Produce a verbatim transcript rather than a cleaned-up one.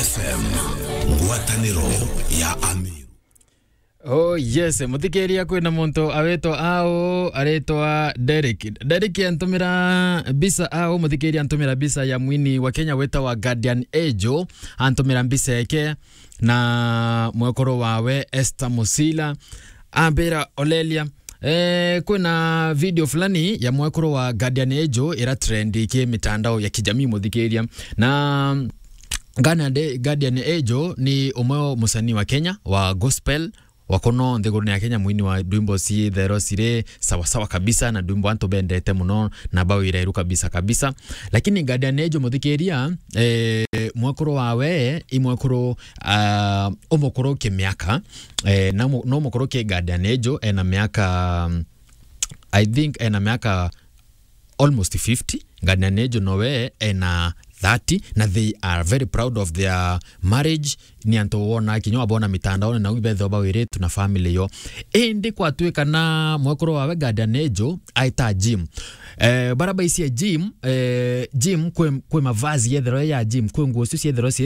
F M, ngwataniro ya Amiru. Oh yes, muthikiria, kwina muntu awitwa au, aritwa Derek. Derek antumira bisa au, muthikiria antumira bisa ya mwini wa Kenya witawa Guardian Angel, antumira bisa yake na mwekuru wawe Esther Musila, ambira Olelia, eh, kwina video fulani ya mwekuru wa Guardian Angel ira trend ki mitandao ya kijamii, muthikiria. Na Guardian, Guardian Angel ni umwe wa musanii wa Kenya wa gospel, wa kuno nthigurune ya Kenya, mwini wa ndwimbo ciithero ciri sawa sawa kabisa, na ndwimbo antu bendete muno na bawira iru kabisa kabisa. Lakini Guardian Angel, muthikiria, eh, mwekuru wawe i mwekuru, ah, umukuru ki miaka, eh, na mu-, no mukuru ki Guardian Angel, ena miaka, I think ena miaka almost fifty. Guardian Angel nowe ena thirty, na they are very proud of their marriage. Ni antu wona kinya wabona mitandaone, na ibethwa bawiritu na family yo. Indi kwatuika na mwekuru wawe Guardian Angel aita Jim. Eh, bara baisi ya Jim, eh, Jim kwi, kwi mavazi yethero ya Jim, kwi nguo cio ciethero cie